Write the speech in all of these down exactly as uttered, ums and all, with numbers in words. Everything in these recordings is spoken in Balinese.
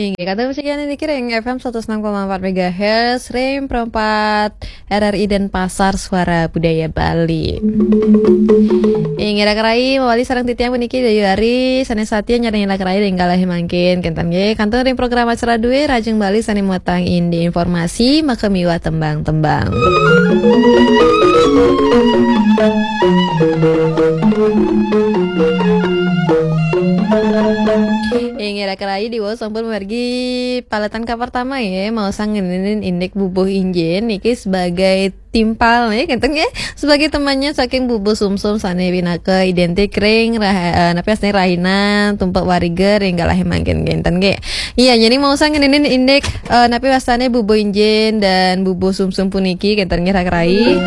Inggih, kantun masikian niki ring F M seratus enam koma empat megahertz, ring Pro empat R R I Denpasar, Suara Budaya Bali. Inggih, Raka Rai, mawali sareng titiang puniki Dayu Ari, sané satia nyarengin Raka Rai ring kalih mangkin. Kénten nggih, kantun ring program acara dué Rahajeng Bali sané muatang indik informasi, maka miwah tembang-tembang. Inggih, Raka Rai, diwau sampun mamargi paletan kapertama ya, maosang ngeninin indik bubuh injin niki sebagai timpal ya, kénten ya, sebagai temannya saking bubuh sumsum sané pinaka identik ring rah-, eh, napi wastané rahinan, tumpek wariga ring kalih mangkin, kénten nggih. Iya, jadi maosang ngeninin indik, eh, napi wastané bubuh injin dan bubuh sumsum puniki, kénten nggih, Raka Rai.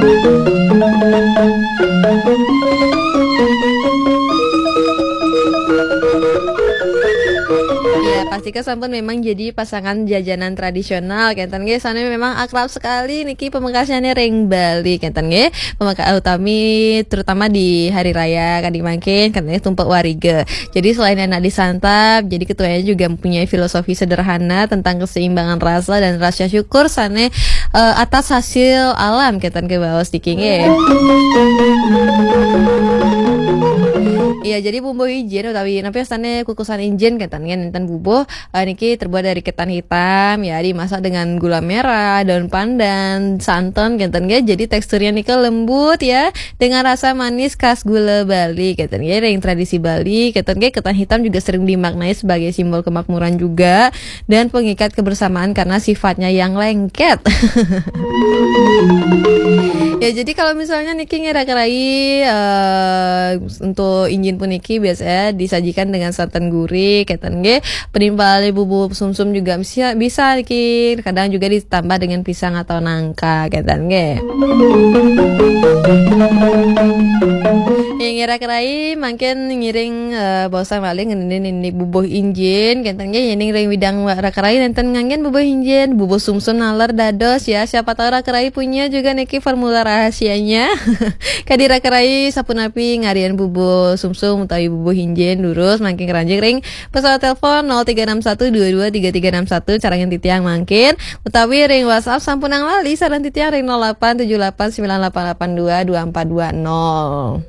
Ya, pastika sampun memang jadi pasangan jajanan tradisional, kénten nggih, sané memang akrab sekali niki pamekasnyané ring Bali, kénten nggih. Pameka-, utami terutama di hari raya kadi mangkin, kénten nggih, tumpek wariga. Jadi selain enak disantap, jadi ketuanya juga mempunyai filosofi sederhana tentang keseimbangan rasa dan rasa syukur sané, eh, atas hasil alam, kénten nggih, baos niki nggih. Iya, jadi bubuh injin utawi napi wastané kukusan injin, kénten nggih, nénten bubuh, eh, niki terbuat dari ketan hitam ya, dimasak dengan gula merah, daun pandan, santan, kénten nggih. Jadi teksturnya nika lembut ya, dengan rasa manis khas gula Bali, kénten nggih. Ring tradisi Bali, kénten nggih, ketan hitam juga sering dimaknai sebagai simbol kemakmuran juga dan pengikat kebersamaan karena sifatnya yang lengket. Ya, jadi kalau misalnya niki nggih, Raka Rai, eh, untuk injin puniki biasanya disajikan dengan santan gurih, kénten nggih. Penimpal bubuh sumsum juga bisa, bisa niki. Kadang juga ditambah dengan pisang atau nangka, kénten nggih. Inggih, Raka Rai, mangkin ngiring, eh, baosang malih ngeninin indik bubuh injin, kénten nggih, yéning ring widang wa-, Raka Rai nénten nganggén bubuh injin, bubuh sumsum naler dados ya, siapa tahu Raka Rai punya juga niki formula rahasianya. Kadi Raka Rai sapunapi ngarian bubuh sumsum utawi bubuh injin, durus mangkin ngranjing ring pesawat telepon nol tiga enam satu dua dua tiga tiga enam satu, carengin titiang mangkin, utawi ring WhatsApp sampunang lali sareng titiang ring nol delapan tujuh delapan sembilan delapan delapan dua dua empat dua nol.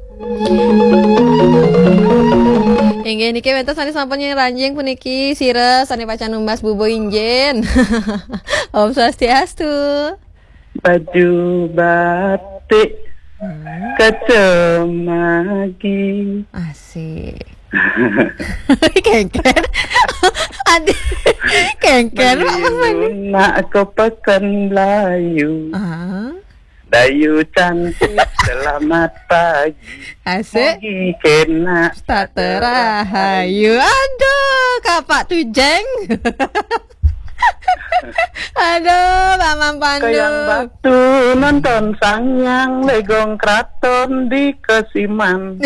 Inggih niki wénten sané sampun ngranjing puniki sira sané pacang numbas bubuh injin. Om Swastiastu. Baju batik, hmm, kacamagi. Asik. Kéngkén. Aduh. Kéngkén, Pak Mas Mandi. Nak ke Pekan Melayu. Ah. Dayu cantik, selamat pagi. Asik. Mugi kénak. Tata rahayu. Aduh, Kapak Tujeng. Aduh, Paman Pandu. Kayang Batu nonton Sang Hyang Legong Kraton di Kesiman.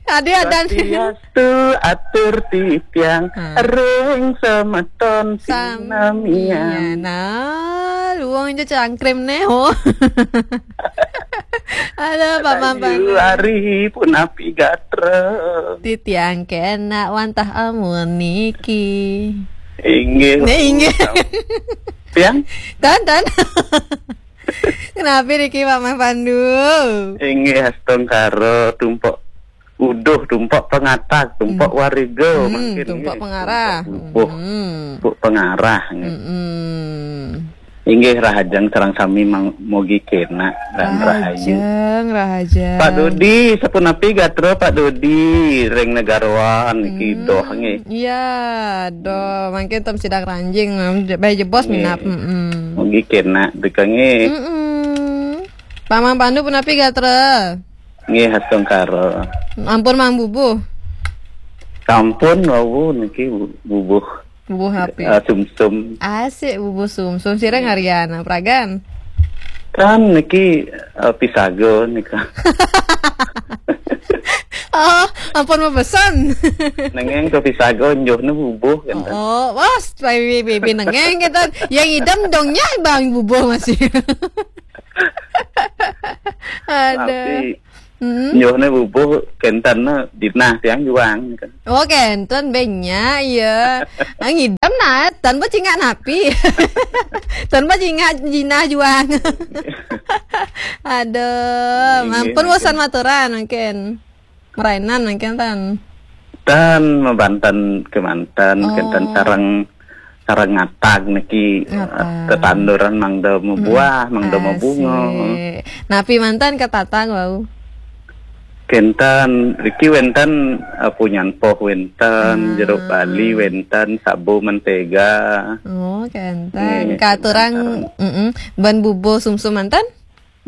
Aduh, ada. Swastiastu atur titiang, ah, ring semeton. Sam-, sinamian. Iya, nah, luang aja cangkrim nih, oh. Aduh, Paman Pandu. Ayu Ari punapi gatra. Titiang kénak wantah amun niki. Inggih. Nah, inggih. Tiang? Tan, tan. Kenapa niki, Paman Pandu? Inggih, astungkara, tumpek uduh, tumpek pangatag, tumpek, hmm, wariga, hmm, mangkin tumpek nggih, pangarah. Tumpek bubuh, hmm, tumpek pangarah nggih. Hmm. Inggih, rahajeng sareng sami mang-, mugi kénak lan rahayu. Rahajeng, rahajeng. Pak Dodi, sapunapi gatra Pak Dodi ring Negaroan niki, hmm, doh nggih. Iya, doh. Mangkin ten sida ngranjing, baé jebos, nggih, minab. Mm-mm. Mugi kénak teka nggih. Mm-mm. Paman Pandu punapi gatra? Nggih, astungkara. Ampun mang bubuh. Sampun wau niki bu-, bubuh. Bubuh api. Eh, sumsum. Asik, bubuh sumsum. Sira ngarian, pragan? Kan niki, eh, pisaga nika. Oh, ampun mabesen. Nengeng ke pisaga njuhna bubuh kan. Oh, wah, baby, baby nengeng kita. Yang idem dongnya bang bubuh masih. Ada. Tapi Hmm. Nyohne bubuh kenten ne jinah tiang juang. Oh, kenten bé nya, ya. Ah, ngidam nah, tan bacingak napi. Tan bacingak jinah juang. Aduh, iya, ampun, bosan maturan mungkin. Merainan mungkin tan. Tan mabanten kemanten, oh, kenten sareng, sareng ngatag niki, ngatag, tetanduran mangda mabuah, hmm, mangda mabunga. Asik. Napi manten ketatag wau? Kenten, riki wenten, eh, punyan poh wenten, ah, jeruk bali wenten, sabu mentega. Oh, kenten. Nggih, katurang, kenten. Mm-mm. Ban bubuh sumsum manten?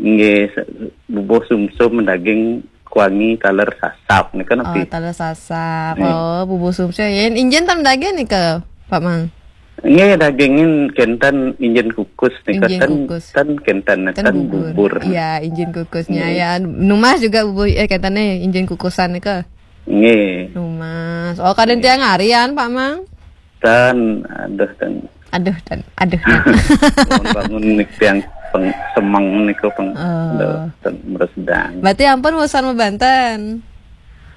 Nggih, se-, bubuh sumsum daging kuangi taler sasap nika napi? Oh, taler sasap. Nggih. Oh, bubuh sumsum. Yén injin tan daging nika, Pak Mang? Nggih, dagingin kenten injin kukus nika. Injin kukus. Ten kenten, ten bubur. Iya, injin kukusnya. Nggih. Ya, numas juga bubuh, eh, kenten injin kukusan nika. Nggih. Numas. Oh, kadén tiang arian, Pak Mang? Tan, aduh, tan. Aduh, tan. Aduh, tan. Bangun-bangun nik tiang peng-, semeng nika peng-, oh, aduh, tan, meresdang. Berarti ampun bosan mabanten.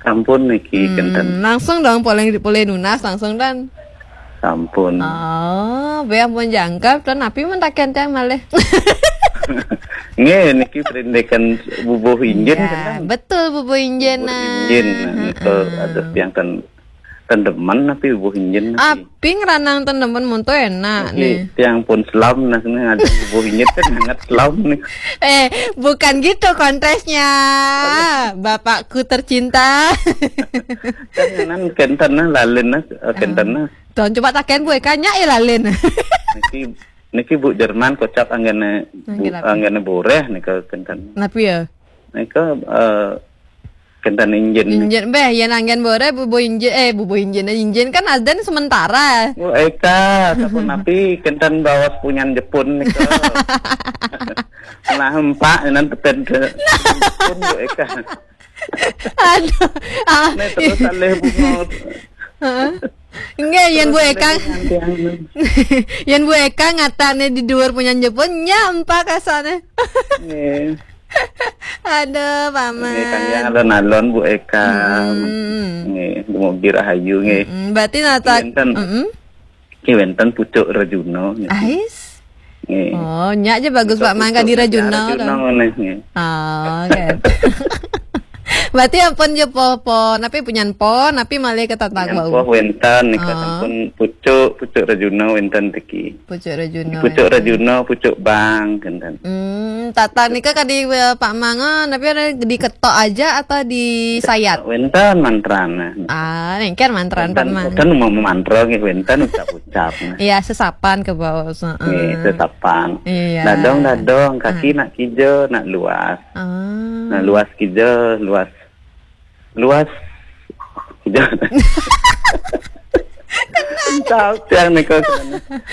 Ampun niki, hmm, kenten. Langsung dong, polih, polih nunas langsung tan. Ampun. Oh, bé ampun jangkep tan, napi mantaken tiang malih. Nggih, niki perindikan bubuh injin, iya, kenten. Betul, bubuh injin, bubuh nah. Injin, nah, nika, heeh, aduh, tiang ten-, tendemen napi bubuh injin napi? Api ngranang tendemen, mun to enak niki, nih. Tiang pun selam nah, sini ada bubuh injin kan sangat selam nih. Eh, bukan gitu konteksnya. Aduh. Bapakku tercinta. Kan nan kenten nah, lalin nah, eh, kenten nah. Tuh, coba taken Bu Eka, nya ya lalin. Niki, niki Bu Jerman kocap anggene bu-, anggene boreh nika kenten. Napi ya? Nika, eh, kenten injin. Injin, béh, yén anggen boreh, bubuh injin, eh, bubuh injin, injin kan adan sementara. Bu Eka, sapunapi kenten baos punyan Jepun nika. Nah, empak nan peten ke Jepun, Bu Eka. Aduh, ah. Nih terus alih bunga. Heeh. Nggih, yén Bu Eka. Terus alih bunga tiang. Yén Bu Eka ngatane di dhuwur punyan Jepun, nya empak kasane. Nggih. Aduh, Paman. Nggih, kang yang alon-alon, Bu Eka. Hmm. Nggih, dumugi rahayu, nggih. Hmm, berarti nata-, wénten, mm-mm. Nggih, wénten pucuk Rejuna, nggih. Ais? Nggih. Oh, nya aja bagus, Pak Mang, kadi Rejuna, Rejuna, nggih. Oh, oke. Berarti ampun ya poh, poh, napi punyan poh, napi malih ketatag wau? Punyan poh wénten, nika, oh, sampun pucuk, pucuk Rejuna wénten niki. Pucuk Rejuna. Pucuk Rejuna, pucuk bang, kenten. Hmm, tata nika kadi, eh, Pak Mang, eh, napi ada diketok aja atau disayat? Wénten mantrana. Ah, nengker mantran, Pak Mang. Wénten mau mantra nggih, wénten ucap-ucap, nah. Iya, sesapan ke bawah, heeh. Nggih, sesapan. Iya. Dadong, dadong, kaki nak kija, nak luas. Ah. Nah, luas kija, luas. Luas. Tahu tiang nika.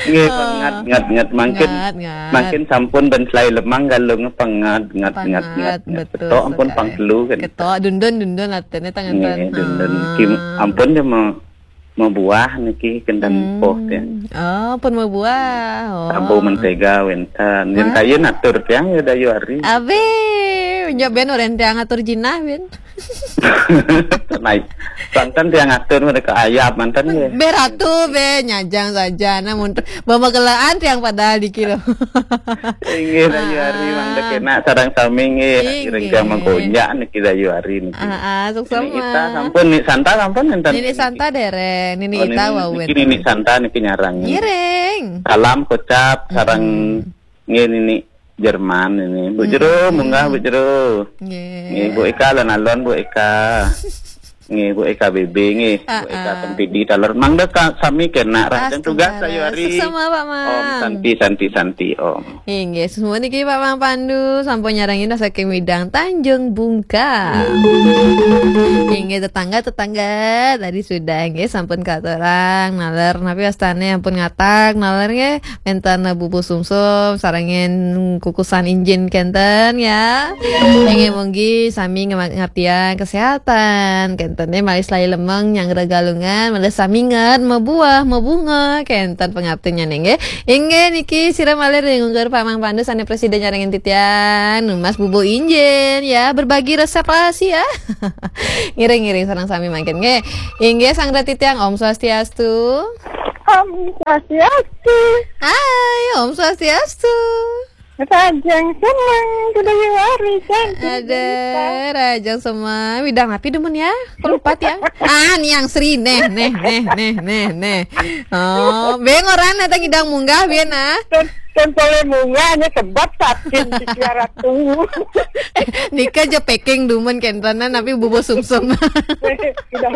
Nggih, oh, pengat, ngat, ngat. Mangkin, ngat, ngat. Mangkin sampun ben selai lemang galung pengat, ngat, ngat, ngat, ngat. Pengat, betul sekali. Ketok ampun pang telu kan. Ketok, dundun, dundun, artinya tangan. Nggih, tan-, dundun. Ah. Kim, ampun dia mau, mau buah niki kenten poh tiang. Oh, pun mau buah. Oh. Sabu mentega wénten. Yen kayun atur tiang ya dayu ari. Abe, nyoben orang tiang atur jinah, Ben. Naik. Santan tiang atur mereka ayam mantan ya. Bé ratu, bé nyajang saja. Namun bawa kelaan tiang padahal di kilo. Inggih, dayu ari, ah, mangda kena sareng sami nggih. Inggih. Ireng tiang mangkonjak niki dayu ari niki. Ah, ah, sukses. Nini Ita sampun, Nini Santa sampun enten. Nini Santa dereng, Nini Ita wau wénten. Oh, Nini, niki Nini Santa niki nyarang. Ngiring. Salam kocap sareng, mm-mm, nggih, Nini Jerman ini. Bu Jero, mm-mm, munggah, Bu Jero. Nggih. Nggih, Bu Eka, alon-alon, Bu Eka. Nggih, Bu Eka B B, nggih. Bu Eka, ah, ah, Sempidi, taler. Mangda ka-, sami kena. Rancang tugas, astaga, dayu ari. Suksma, Pak Mang. Om Santi, Santi, Santi, Om. Inggih, semua niki Pak Mang Pandu, sampun nyarengin saking Widang Tanjung Bungkal. Inggih, tetangga-tetangga tadi sudah, nggih, sampun katurang, naler, napi wastane ampun ngatag, naler, nggih. Wénten bubuh sumsum, sarengin kukusan injin kenten ya. Inggih, munggi sami ngema-, ngartian kesehatan kenten. Kénten malih selaé lemeng nyanggra Galungan, malih saminget mabuah, mabunga, kénten pangaptinnyané nggih. Inggih niki sira malih ring ungkur Pak Mang Pandu sané prasida nyarengin titiang, nunas bubuh injin ya, berbagi resep rahasia. Ngiring-ngiring sareng sami mangkin nggih. Inggih sang titiang, Om Swastiastu. Om Swastiastu. Hai, Om Swastiastu. Rahajeng semeng, kuda yuari cantik. Ada rahajeng semeng, widang napi demen ya? Kelupat ya? Ah, Niang Sri, neh, neh, neh, neh, neh, neh. Oh, beng orang datang idang munggah, biar nah. Kan, kan boleh munggahnya sebab sakit di Ratu. Nika je packing dumen kéntenan, tapi bubuh sumsum. Udah.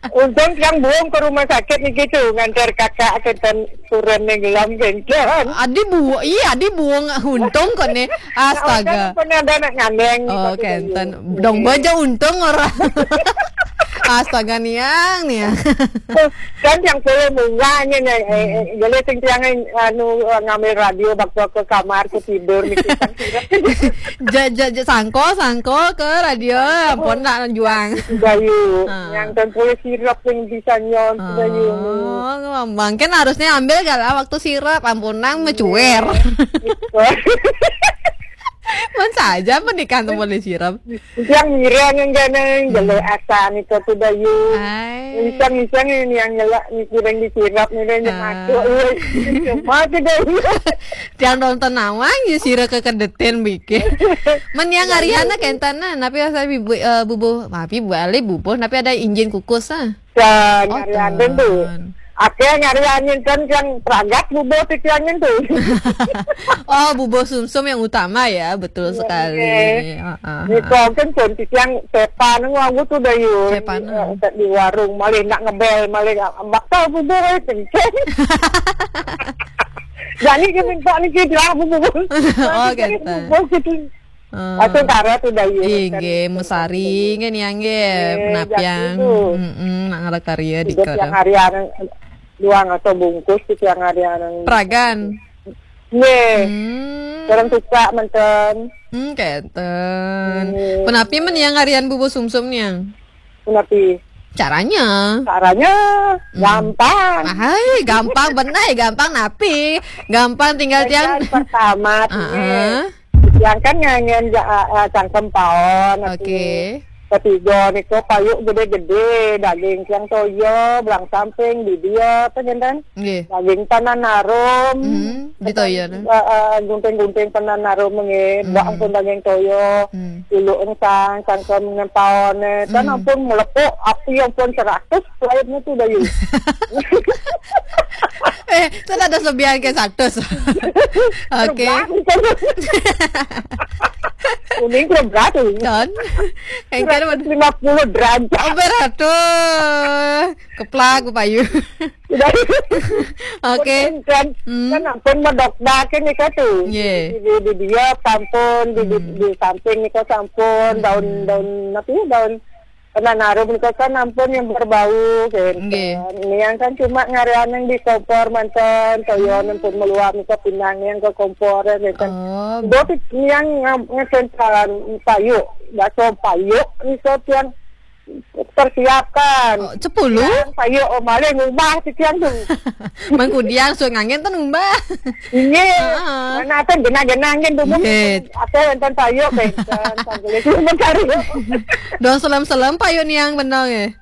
Untung yang buang ke rumah sakit nih gitu, ngantar kakak ke tan turun nih gelam kénten. Adi buang, iya, adi buang untung kok nih. Astaga. Kan pernah ada anak ngandeng. Oh, kénten. Dong baja untung orang. Astaga, Niang, Niang. Kan yang boleh munggahnya nih, eh, eh, boleh sing tiang, anu, eh, ngambil radio waktu ke kamar, ke tidur nih. Ja, ja, ja, sangko, sangko ke radio, ampun nak juang. Bayu, yang kan boleh sirap yang bisa nyon, Bayu. Oh, ngomong kan harusnya ambil gala waktu sirap, ampun nang mecuer. Mun saja pernikahan tuh boleh sirap. Yang ngiring yang ganeng, jelo asan itu tuh Bayu. Hai. Iseng-iseng ini yang nyelak, ngiring disirap, ngiring yang masuk. Iya, cuma tuh Bayu. Tiang nonton nawang ya sira kekedetin bikin. Men yang ngariana kéntenan, tapi asal bibu, eh, bubuh, maaf ibu ale bubuh, tapi ada injin kukus ah. Dan ngarianin tuh. Oke, ngarianin kan yang pragat bubuh titiangin tuh. Oh, bubuh sumsum yang utama ya, betul sekali. Iya. Heeh. Ini kok kan cantik yang sepan nganggu tuh Bayu. Sepan, eh, di warung, malah nak ngebel, malah bakal bubuh, eh, kenceng. Jadi dia minta nih, dia bilang, "Bubuh." Oh, gitu. Bubuh gitu. Aku kara tuh Bayu. Inggih, mesari nggih Niang nggih. Penapian. Heeh, nak ngala karya di kara. Yang harian duang atau bungkus gitu yang harian. Pragan. Nggih. Hmm. Orang suka manten. Hmm, kénten. Penapi men yang harian bubuh sumsum Niang? Penapi? Caranya. Caranya gampang. Hai, gampang benar, gampang napi. Gampang tinggal tiang. Pertama, tiang kan ngangen ja-, eh, cangkem paon. Oke. Ketiga niku payuk gede-gede, daging tiang toyo, belang samping, bibia, apa jantan? Nggih. Daging tanan arum. Hmm, di toyo, nah. Eh, eh, gunting-gunting tanan arum nggih, hmm, bak pun daging toyo, hmm, ilu engsang, cangkem ngempaon, eh, kan, hmm, ampun melepuk, api ampun seratus, lainnya tuh Bayu. Eh, itu ada sebian ke seratus. Oke. Kuning ke berapa? Don. Engkau lima puluh derajat. Oh, berat tuh. Keplak, Bayu. Oke. Kan, hmm, kan ampun medok dah kan nika tuh. Nggih. Di, di, di dia sampun, di, di, hmm, di samping nika sampun, hmm, daun, daun apa ya, daun penanarum nika kan ampun yang berbau kan. Nggih. Ini yang kan cuma ngarian yang di kompor manten, toyon, hmm, pun meluap nika pinang yang ke kompor ya kan. Oh. Boti yang ngam-, ngesentan payuk, bakso payuk nika yang persiapkan. Oh, sepuluh? Yang payuk, oh, malah ngubah si tiang tuh. Mangkudiang suang angin tuh ngubah. Iya. Heeh. Mana ada genah-genah angin tuh. Iya. Apa yang tan payuk kan, kan, kan boleh cuma cari. Dong selam-selam payuk Niang benang eh.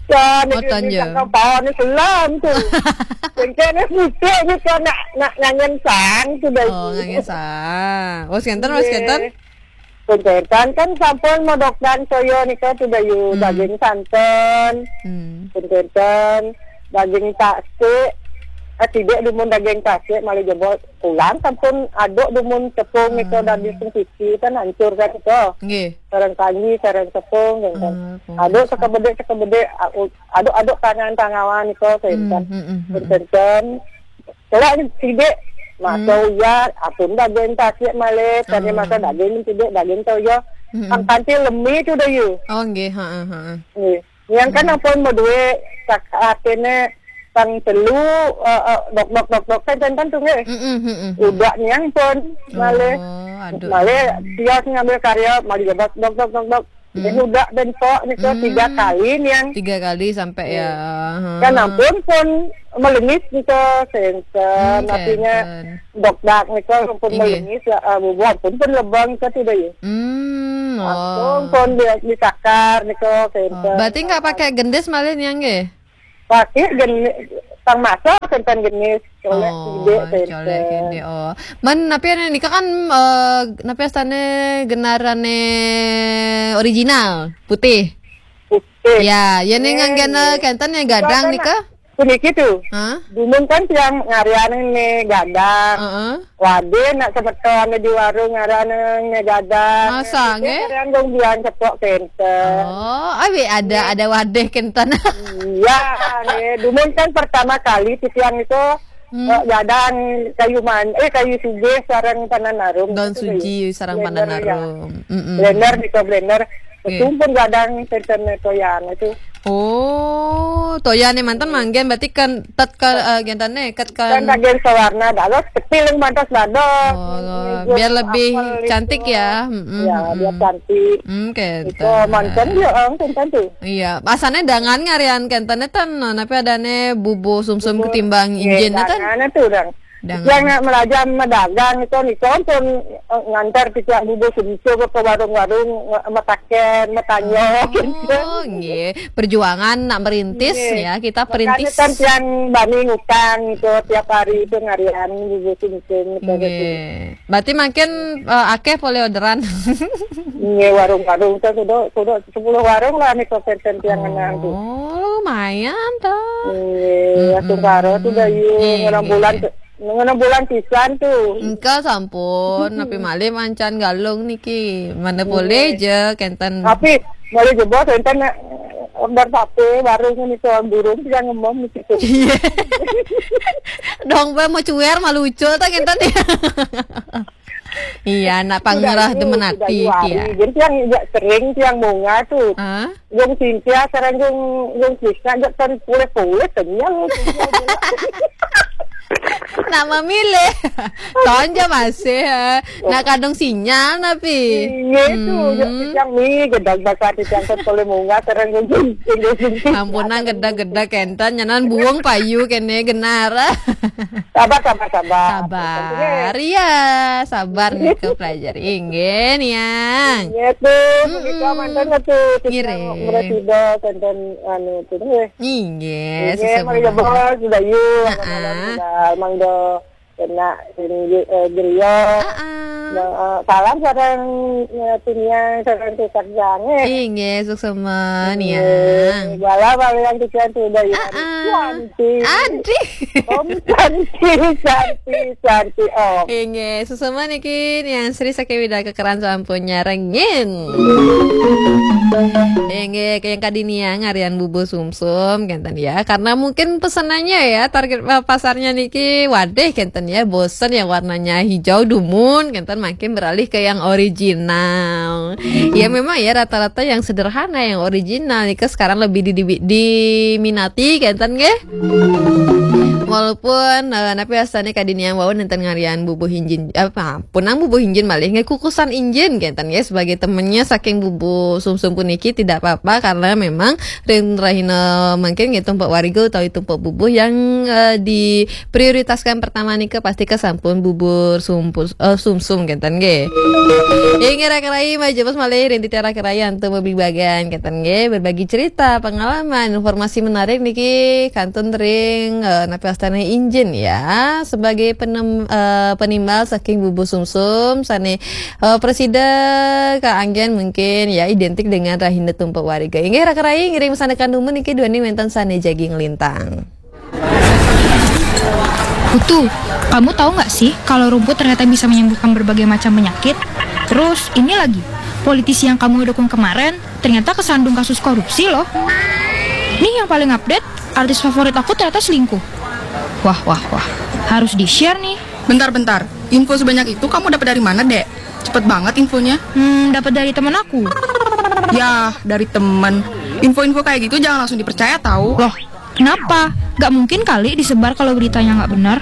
Kan, oh, ini tanya. Kan kawan ni selam tuh. Mungkin ni putih ni kan nak, nak ngangen sang tu dah. Oh, ngangen sang. Oh, sekian, oh, sekian. Iya. Punten kan sampun modokdan toyo nika tuh Bayu, hmm, daging santen. Hmm. Punten daging tasik. Eh, tidak dumun daging tasik, malah jebol pulang sampun aduk dumun tepung nika, hmm, daging sing siki kan hancur kan nika. Nggih. Sareng kanji, sareng tepung kan. Ah, aduk sekebedik-sekebedik, aduk-aduk tangan tangawan nika kan. Hmm, hmm, hmm, hmm. Punten. Kelak ni sidik, masa, hmm, uyat, apun daging tasik malih, tadi, oh, masa daging ni sidik, daging toyo. Hmm. Ang kanti lemi tu dah you. Oh, nggih, ha, ha, ha. Nggih. Yang kan, hmm, apun mau duit, tak, artinya, tang telu, eh, eh, dok, dok, dok, dok, kan, kan, kan tu, nggih. Hmm, hmm, hmm, hmm. Udah ni yang pun, malih. Oh, aduh. Malih, dia ngambil karya, malih dok, dok, dok, dok, dok. Dia udah bentuk nika tiga kali niang. Tiga kali sampai ya. Kan ampun pun melengis nika senten. Artinya dokdak nika pun melengis ya, ah, bubuh ampun pun lebang nika tidak ya. Hmm, Ampun oh. Pun dia ditakar nika senten. Berarti nggak pakai gendis malih niang nggih? Pakai gendis, tang masa senten gendis. Colek Oh, ide senten. Colek ide. Oh. Man, napi ane nika kan eh, napi astane genarane original putih. Oke. Ya, ya ning nganggena kenten ya gadang nika. Puniki tuh. Hah? Dumun kan tiang ngarian ini gadang. Heeh. Waduh, nak semeton di warung ngarian ini gadang. Masa, nggih? Ngarian dong biang cepok kenten. Oh, awi ada ada wadih kenten. Iya, nih. Dumun kan pertama kali titiang itu eh, gadang kayu man, eh kayu sugih sarang panan arum. Daun Gitu, suji ya. sarang Blender, panan ya. Arum. Mm-mm. Blender, bisa blender. Oke. Sumpun gadang kenten toyan itu. Oh, toyane manten manggen berarti kan tet ke eh, gentane ket Kan kan. bagian sawarna dalos kecil yang pantas dados. Oh, biar lebih cantik ya. Mm-mm, Ya, mm-mm. Biar cantik. Hmm, Itu kenten. Manten dia orang kenten tuh. Iya, asane dangan ngarian kentene ten, no, tapi adane bubu sumsum ketimbang injin ten. Tangan tuh orang. Dangan. Yang nak melajar medagang itu nih pun eh, ngantar tiang bubu sumsum ke warung-warung eh, metaken, metanyo. Oh, nggih. Perjuangan nak merintis Nggih. Ya, kita Makanya perintis. Kan tiang bani ngutang itu tiap hari itu ngarian bubu sumsum itu. Nggih. Berarti makin eh, akeh pole orderan. Nggih, warung-warung itu kudu kudu sepuluh warung lah nih kenten tiang ngenang tuh. Oh, lumayan tuh. Nggih, langsung karo tuh dah yuk Nggih, enam nggih. Bulan enam bulan pisan tuh. Engka sampun, tapi malih mancan galung niki. Mana boleh je kenten. Tapi boleh jebos enten nak order sapi warung ini tuh burung tiang ngemom di situ. Dong pe mau cuer malu ucul ta kenten. Iya, nak pangurah Sudah demen yuk, sudah ati yuk, ya. hari. Jadi tiang jak sering tiang bunga tuh. Hah? Jung Cynthia sareng jung jung Krisna jak kan pulih-pulih kenyal. Nak memilih. Tonja masih eh. Nak kadung sinyal napi. Iya tuh, jak tiang mi gedang bakar tiang kan pulih bunga sareng jung jung jung jung. Ampunan geda-geda kenten nyanan buang payu kene genar. Sabar sabar sabar. Sabar. Iya, sabar nih ke pelajari. Inggih, Niang. Iya tuh, begitu mantan tuh. Ngiring. Presida kenten anu tuh deh. Inggih, Iya, mari sesuai. Bos, sudah yuk. Heeh. Sudah Mang Do kena ini eh, Gerio. Heeh. Nah, eh, salam sareng eh, Tuniang sareng Tukar Jange. Inggih, suksema Niang. Bala bala yang kesian tuh udah ya. Heeh. Cantik. Adih. Om cantik, cantik, cantik Om. Inggih, suksema niki Niang Sri saking Widaka Keran sampun nyarengin. Inggih, ke yang kadiniang ngarian bubu sumsum kenten ya. Karena mungkin pesenannya ya target eh, pasarnya niki wadih kenten ya, bosen yang warnanya hijau dumun kenten makin beralih ke yang original. Ya memang ya rata-rata yang sederhana yang original nika sekarang lebih di, di- diminati kenten nggih. Walaupun eh, napi asane kadiniang wau nenten ngarian bubuh injin apa punang bubuh injin malih nggih kukusan injin kenten nggih sebagai temennya saking bubuh sumsum puniki tidak apa-apa karena memang ring rahina mungkin nggih tumpuk wariga utawi tumpuk bubuh yang eh, diprioritaskan pertama nika pasti kesampun bubur sumpus eh, sumsum kenten nggih. Inggih raka rai majepus malih ring titiang raka rai antuk bebebagan kenten nggih berbagi cerita pengalaman informasi menarik niki kantun ring eh, napi astane injin ya sebagai penem, eh, penimbal saking bubuh sumsum sane eh, presida kaanggen mungkin ya identik dengan rahina tumpuk wariga. Inggih raka rai ngiring sane kandumun niki duaning wenten sane jagi nglintang. Putu, kamu tahu nggak sih kalau rumput ternyata bisa menyembuhkan berbagai macam penyakit? Terus ini lagi, politisi yang kamu dukung kemarin ternyata kesandung kasus korupsi loh. Nih yang paling update, artis favorit aku ternyata selingkuh. Wah, wah, wah. Harus di-share nih. Bentar-bentar, info sebanyak itu kamu dapat dari mana, Dek? Cepet banget infonya. Hmm, dapat dari temen aku. Yah, dari temen. Info-info kayak gitu jangan langsung dipercaya tahu. Loh, kenapa? Gak mungkin kali disebar kalau beritanya nggak benar.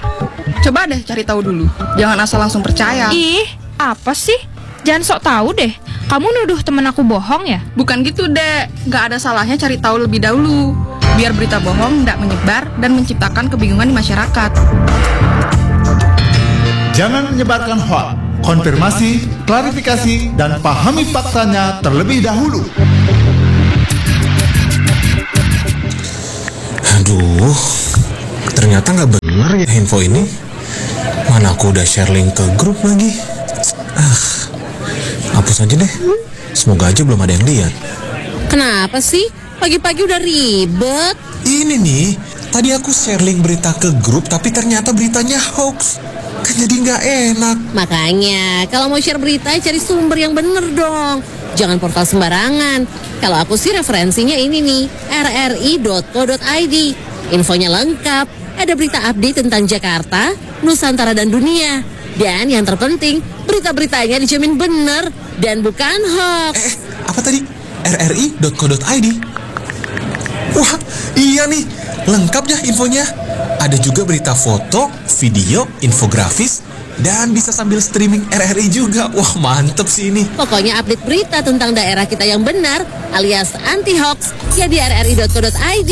Coba deh cari tahu dulu. Jangan asal langsung percaya. Ih, apa sih? Jangan sok tahu deh. Kamu nuduh temen aku bohong ya? Bukan gitu, Dek. Gak ada salahnya cari tahu lebih dahulu. Biar berita bohong ndak menyebar dan menciptakan kebingungan di masyarakat. Jangan menyebarkan hoax. Konfirmasi, klarifikasi, dan pahami faktanya terlebih dahulu. Aduh, ternyata nggak bener ya info ini. Mana aku udah share link ke grup lagi. Ah, hapus aja deh. Semoga aja belum ada yang lihat. Kenapa sih? Pagi-pagi udah ribet. Ini nih, tadi aku share link berita ke grup tapi ternyata beritanya hoax. Kan jadi nggak enak. Makanya, kalau mau share berita, cari sumber yang bener dong. Jangan portal sembarangan. Kalau aku sih referensinya ini nih, rri.co.id. Infonya lengkap, ada berita update tentang Jakarta, Nusantara dan dunia. Dan yang terpenting, berita-beritanya dijamin bener dan bukan hoax. Eh, apa tadi? rri.co.id. Wah, iya nih, lengkap ya infonya. Ada juga berita foto, video, infografis, dan bisa sambil streaming RRI juga. Wah, mantep sih ini. Pokoknya update berita tentang daerah kita yang benar alias anti hoax ya di rri.co.id.